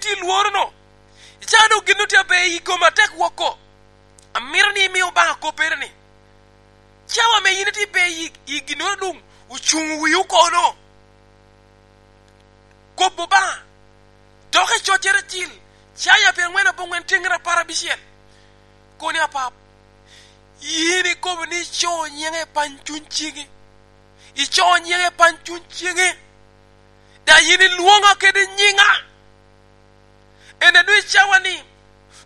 itye i lworo no, i cawa dong gin nongo tye aber i kom atek woko. Amito ni imi Obanga koppere ni, cawa me in itye ber i ginoro dong ocungo wiu kono. Kop Obanga dok i coccere cil caya pyerangwen abongwen tyengere aparabical koni apap. In ikobo ni ico nyinge i pany cuny cingi, ico nyinge i pany cuny cingi, da in ilwonga kede nyinga. Ene dong i cawa ni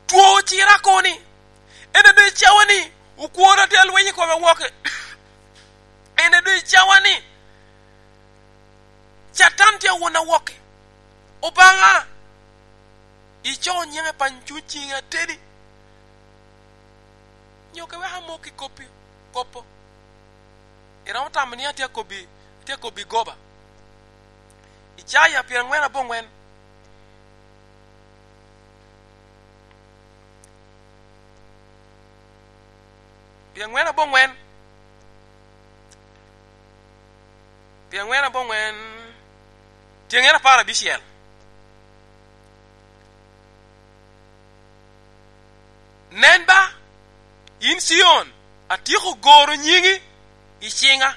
two ocira koni, ene dong i cawa ni okwora tye alweny i kome woke, ene dong i cawa ni Catan tye awona woke. Obanga, ico nyinge pany cuny cingi atedi. Nyo ke wek amok i kopi kopo. Iromo tamo ni atye akobi, atye akobi goba. Icaya pyerangwen abongwen. Pyerangwen abongwen. Pyerangwen abongwen. Tyengere aparabicel. Nen ba, in Cion, atyeko goro nyingi i cinga,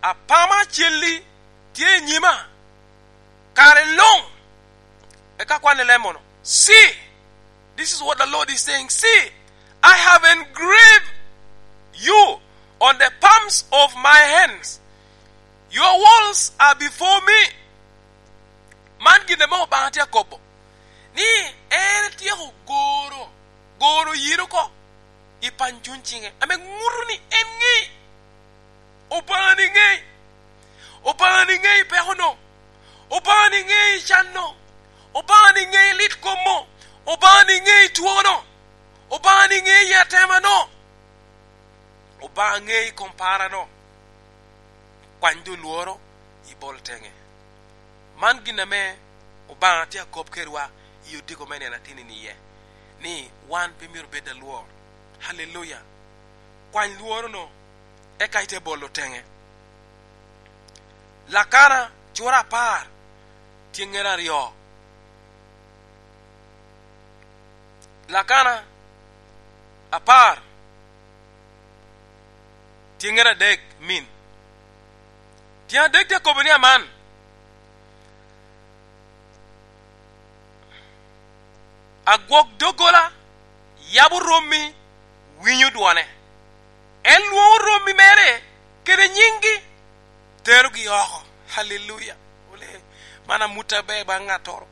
apama celli tye i nyima kare lung. Eka kwan i lem mono. See, this is what the Lord is saying, See, I have engraved you on the palms of my hands, your walls are before me. Man gin ma Obanga tye ka kobo. ni en etyeko goro goro yin oko i pany cuny cinge, ame nguto ni en ngei. Obanga ni ngei. Obanga ni ngei peko no. Obanga ni ngei can no. Obanga ni ngei lit kom mo. Obanga ni ngei two no. Obanga ni ngei atema no. Obanga ngei kom para no. Kwany do lworo i bol tenge. Man gin ame Obanga tye akop kedwa i odiko me nino atini-ni iye, ni wan pe myero obed alwor. Haleluya! Kwany lworo-nu eka ite bolo tenge. Lakana cura apar tyengere aryo. Lakana apar tyengere adek min. Tyeng adek tye akobo ni aman. Agwok doggola yabo rommi winyo dwone. En lwongo rommi mere kede nyinggi, terogi oko. Haleluya! Ole, man amuta ber bang ngatoro.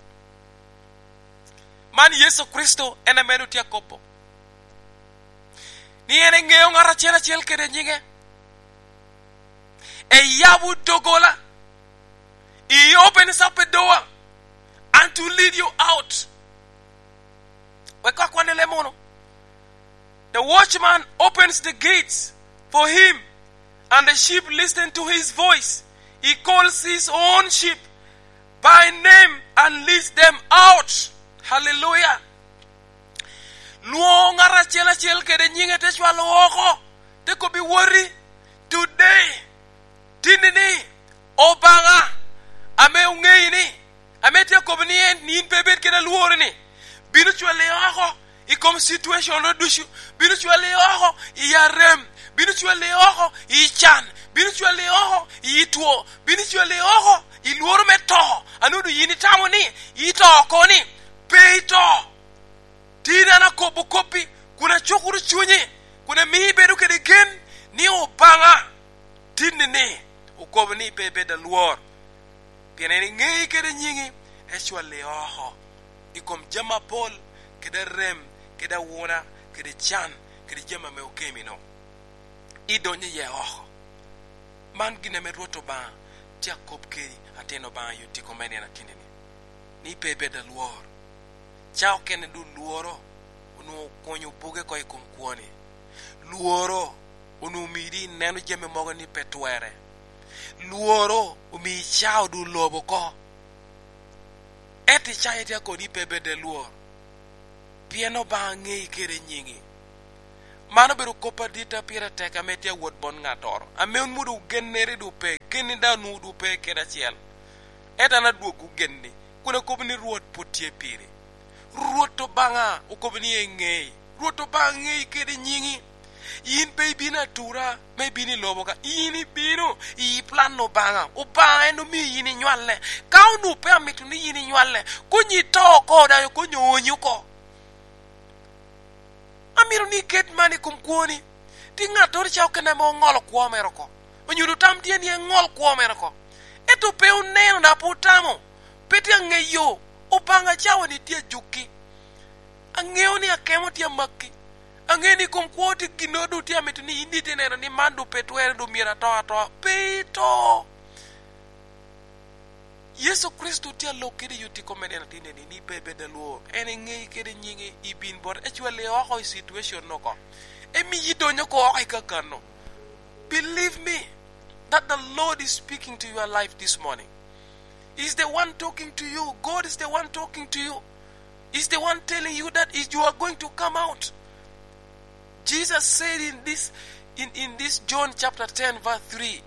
Man Yecu Kricito en aye medo tye akobo ni en engeyo ngat acel acel kede nyinge. Eyabo doggola. He opens up a door and to lead you out. Wek akwane lemono. The watchman opens the gates for him and the sheep listen to his voice. He calls his own sheep by name and leads them out. Hallelujah. Lwongo ngat acel acel kede nyinge te cwalo woko te kobi woti today tini ni Obanga, ame ongeyi ni, ame tye akobo ni en ni in pe ibed kede alworo ni, bino cwali oko i kom situation no ducu, bino cwali oko i arem, bino cwali oko i can, bino cwali oko i two, bino cwali oko i lworo me to. Anudu in itamo ni ito oko ni, pe ito. Tin an akobo koppi kun acukuru cwinyi, kun amiyi ibedo kede gen ni Obanga tinni ni okobo ni pe ibed alwor, pien en ingeyi kede nyingi, ecwali oko i kom jami mapol, kede arem, kede awuna, kede can, kede jami ame okemi-nu, idonyo iye oko. Man gin ame Rwot Obanga tye akop kedi, atin Obanga i odiko me nino atini-ni, ni pe ibed alwor. Ca okene dong lworo onongo okonyo buge ko i kom kwoni. Lworo onongo omiyi dong ineno jami mogo ni pe twere. Lworo omiyi icao dong lobo oko. Ento icayo tye kodi pe bed lwor, pien Obanga ngeyi kede nyingi. Man obedo kop adita pire tek ame tye awot bot ngatoro. Ame wun dong wugennere dong pe, genni dong onongo dong pe kede acel. Ento an adwogwu genni. Kun akobo ni Rwot pud tye piri. Rwot Obanga okobo ni engei. Rwot Obanga ngeyi kede nyingi. In pe ibino atura ma ibino i lobo ka. In ibino i plan Obanga. Obanga en omiyo in inywalle. Ka onongo pe amito ni in inywalle, konyi ito oko odayo konyi oonyi oko. Amito ni iket man i kom kwoni. Tye ngat ca okene ma ongolo kwo mere oko. Onyuto tam tye ni engol kwo mere oko. Ento pe oneno dok pe otamo. Pe tye angeyo. Obanga cawa ni tye ajukki. Angeyo ni akemo tye amakki. Angeyo ni i kom kwo tye gin dong tye amito ni in itye neno ni man dong pe twere dong myero ato atoa. Pe ito. Yecu Kricito tye alok kede i oti kome nino atir neni ni pe ibed alwor. En engeyi kede nyingi ibin bote ecwali oko i situation no ko. Emiyi idonyo ko oko i kakano. Believe me that the Lord is speaking to your life this morning. He's the one talking to you. God is the one talking to you. He's the one telling you that is you are going to come out. Jesus said in this in, in this John chapter 10 verse 3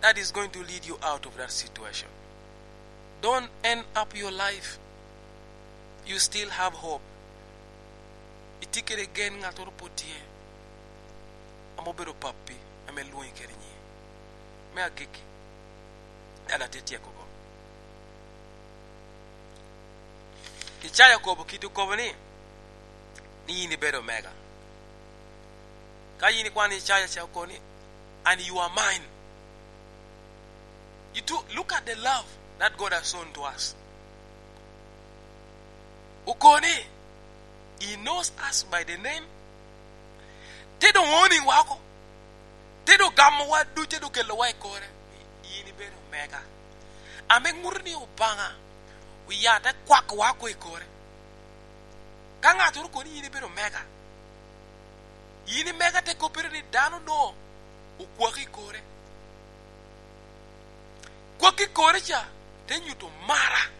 that is going to lead you out of that situation. Don't end up your life. You still have hope. Itye kede gen ngat oro pud tye ame obedo papi ame lwongi kede nyinge. Me agikki, dala tye tyeko go. Icaya okobo kit okobo ni, ni in ibedo omega. Ka in ikwano Icaya ca okobo ni, and you are mine. You do, look at the love that God has shown to us. Okobo ni, He knows us by the name. Te dong owning wa oko. Te dong ogamowa ducu, te dong okelowa i kore. In ibedo omega. Ame nguto ni Obanga oyate kwakowa oko i kore. Ka ngat oro koni in ibedo omega, in imega te kopere ni dano no okwaki i kore. Kwaki i kore ca te nyuto mara.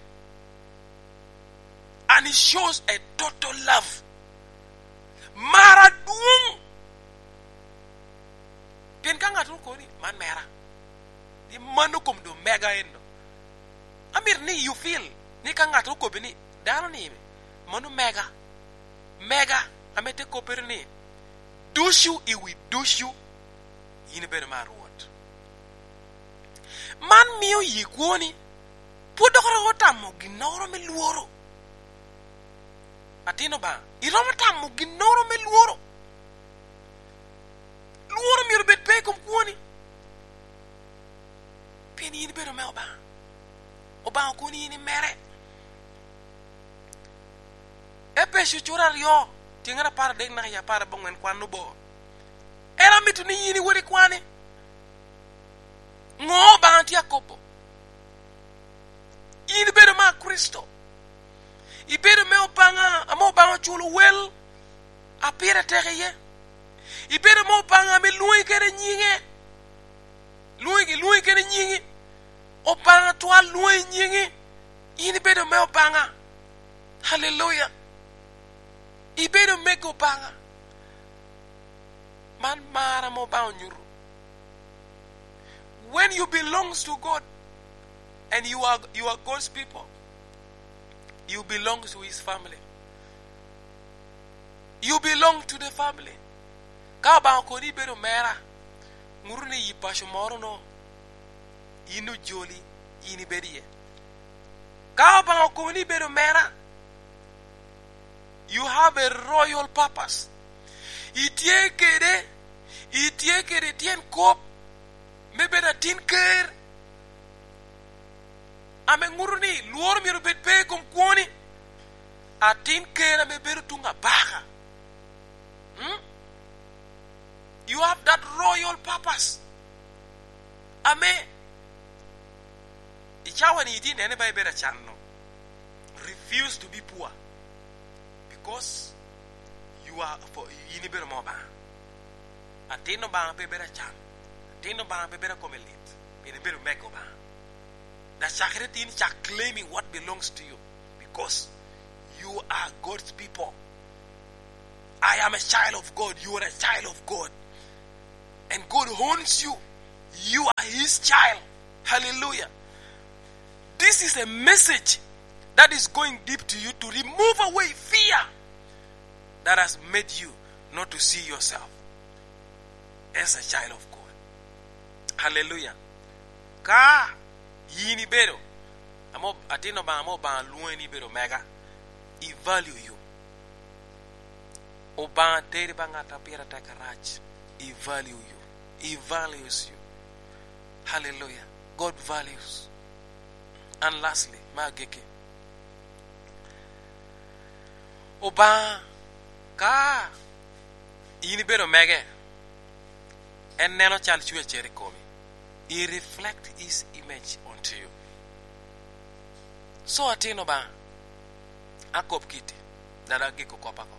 And it shows a total love. Mara dwong. Pien ka ngat oro koni man mera. Ni mano kom do mega eno. Amito ni you feel ni ka ngat okobi ni dano ni mano mega mega ame te kopere ni ducu i wi ducu in ibedo ma Rwot. Man miyo yi kwoni pud dok romo tamo ginoro me lworo. Latin Lubanga, iromo tamo ginoro me lworo. Lworo myero obed pe i kom kwoni. Pien in ibedo me Obanga. Obanga okoni in imere. Epeco cura aryo, tyeng 13 naka i 14 kwan obor. En amito ni in iwot ikwani. Ngo Obanga tye akobo? In ibedo ma Kricito. Ibedo me Obanga ama Obanga oculo wel a pire tek iye. Ibedo me Obanga ma ilwongi kede nyinge. Lwongi, lwongi kede nyingi. Obanga twal lwongi nyingi. In ibedo me Obanga. Haleluya! Ibedo mego Obanga. Man mara ma Obanga onyuto. When you belongs to God and you are, you are God's people, you belong to his family. You belong to the family. Ka Obanga okoni ibedo mera, nguto ni i paco moro no in ojoli in ibedo iye. Ka Obanga okoni ibedo mera, you have a royal purpose. Itye kede, itye kede tyen kop me bedo atin ker. Ame nguto ni lworo myero obed pe i kom kwoni. Atin ker ame bedo tung abaka. Hmm? You have that royal purpose. Ame i cawa ni itye nene ba ibedo acanno. Refuse to be poor because you are for in ibedo mo Obanga. Atin Obanga pe bedo acan. Atin Obanga pe bedo kome lit. Pien ibedo mego Obanga. Lacakere tin cak claiming what belongs to you because you are God's people. I am a child of God. You are a child of God. And God owns you. You are His child. Hallelujah. This is a message that is going deep to you to remove away fear that has made you not to see yourself as a child of God. Hallelujah. Ka in ibedo atin Lubanga ma Obanga lwongi ni ibedo mega, He value you. Obanga teri ba ngat ma pire tek arac. He value you. He values you. Hallelujah. God values. And lastly, me agikki, Obanga ka in ibedo mege, en neno cal cwer cer i komi. He reflect his image onto you. So atin Obanga, akob kiti, dada agiko kopa ko.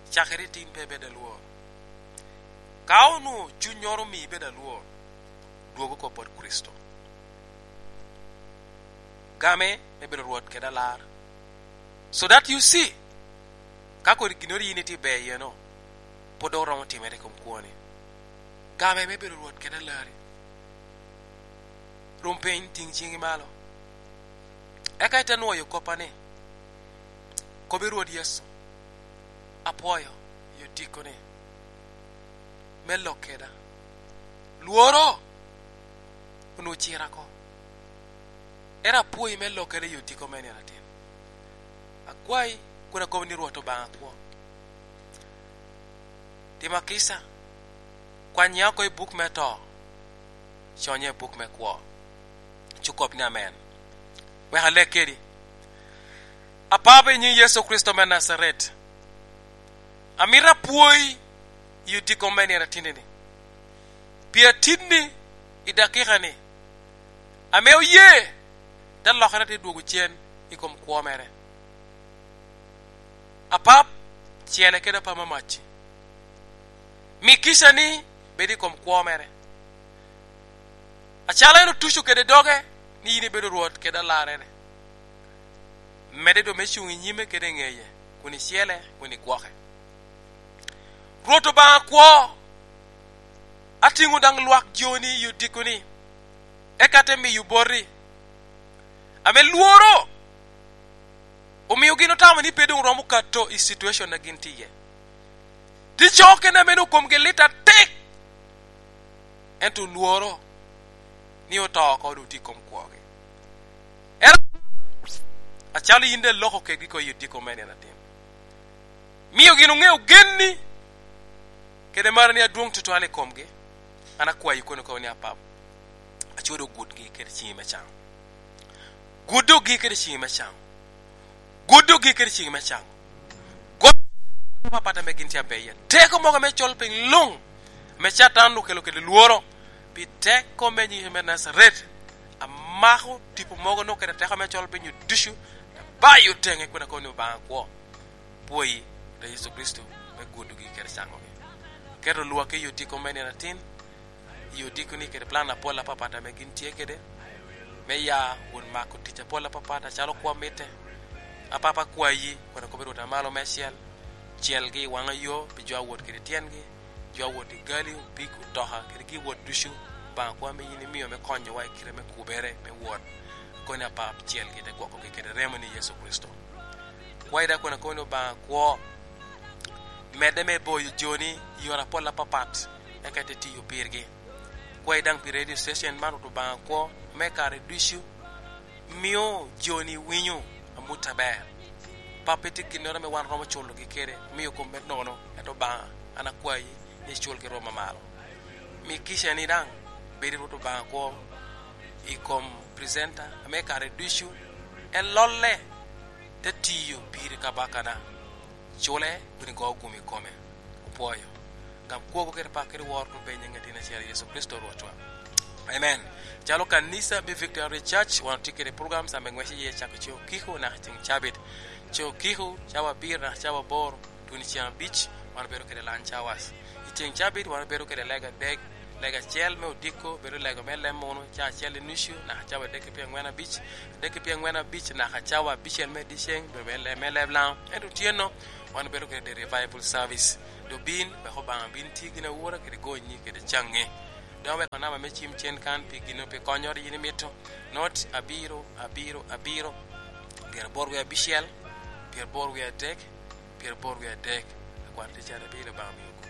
Cakere tin pe ibed alwor. Ka onongo cwiny omiyi ibedo alwor, dwog oko bot Kricito. Game me bedo Rwot kede alar. So that you see, ka kodi ginori in itye ber iye no, pud dok romo timere i kom kwoni. Game me bedo Rwot kede alari. Rum piny, ting cingi malo. Eka ite nwoyo koppa ni, Kobi Rwot Yecu, apwoyo i odiko-ni me lok keda. Lworo onongo ocira ko. Ento apwoyi me lok keda i odiko me nino atin. Akwayi kun akobo ni Rwot Lubanga kwo. Tima kica, kwanya oko i buk me to, conya i buk me kwo. Ci okop ni Amen. Wek aleg kedi. Apapa i nying Yecu Kricito me Nacaret, amito apwoyi i odiko me nino atinni-ni, pi atinni i dakika-ni ame oye te lokere te dwogo cen i kom kwo mere. Apap cele kede apam mamac-ci. Mi kicani bed i kom kwo mere. Acalo en otuco kede doge ni in ibedo Rwot kede alarrene. Medde dong me cung i nyime kede i ngeye, kun icele, kun igwoke. Rwot Lubanga kwo, atingo dang lwak joni i odiko-ni, eka ate miyo boti. Ame lworo omiyo gin otamo ni pe dong romo kato i situation na gin tye iye. Tye jo okene meno komgi lit atek, ento lworo ni oto oko dong tye i kom kwogi. Ento acalo in dong iloko kedgi ko i odiko me nino atin, miyo gin ongeyo genni kede marani adwong tutwal i komgi, an akwayi kono kono ni apap acodo gutgi kede cingi me cango. Gudogi kede cingi me cango. Gudogi kede cingi me cango. Go papat ame gin tye abeya. Teko mogo me col piny lung me Catan okelo kede lworo pi teko me nying me Nazaret. Amako tipo mogo nongo kede teko me col piny ducu abayo tenge kun akobo ni Lubanga kwo. Pwoyi da Yecu Kricito me gudogi kede cangogi. Keto lwakki i odiko me nino atin, i odiko ni kede plan apol apapat ame gin tye kede me ya wun mako tic apol apapat acalo kwo mitte. Apapa kwayi kun akobo Rwot amalo me cel, celgi i wanga yo pi jo awot kede tyengi. Jo a wot i gali, opik, otoka, kede giwot ducu, Lubanga kwa me in imiyo me konyowa i kite me kubere me wot. Akoni apar picel gite gwokogi kede remo ni Yecu Kricito. Kwayi dok akoni akoni Lubanga kwo. Medde me boyo joni i yore apol apapat eka ite tiyo pirgi. Kwayi dang pi radio station man Rwot Lubanga kwo me kare ducu miyo joni winyo amut aber. Pa pe tye ginoro me wan romo culogi kede miyo kom me nono ento Lubanga An akwayi ni icul ki rwom mamalo. Mi kicani dang bed i Rwot Lubanga kwo i kom presenter me kare ducu en lolle te tiyo piri kabakana. Cule kun igo gum i kome. Opwoyo. Gam kwogo kede pak kede woro kun pe i nying latin acel Yecu Kricito Rwotwa. Amen. Calo kanisa me Victory Church, wan watye kede programs ame ngwec iye cako ceng okiko naka ceng cabit. Ceng okiko cawa abiro naka cawa aboro. Tuni ceng abic, wan wabedo kwede lunch hours. I ceng cabit, wan wabedo kwede lega adek. Lega acel me odiko bedo lega me lem munu, cawa acel ki nucu naka cawa adek ki pyerangwen abic. Adek ki pyerangwen abic naka cawa abicel me dyeceng bedo me leb lango. Ento otyeno, wan wabedo kwede the revival service. Dong bin wek Obanga bin ti gin awura kede gonyi kede cangi. Dong aweko namba me cim cen kan pi gino pi konyoro in imito, not abiro, abiro, abiro, pyeraboro wiye abicel, pyeraboro wiye adek, pyeraboro wiye adek. Akwano tic cat abiro Lubanga omiyo.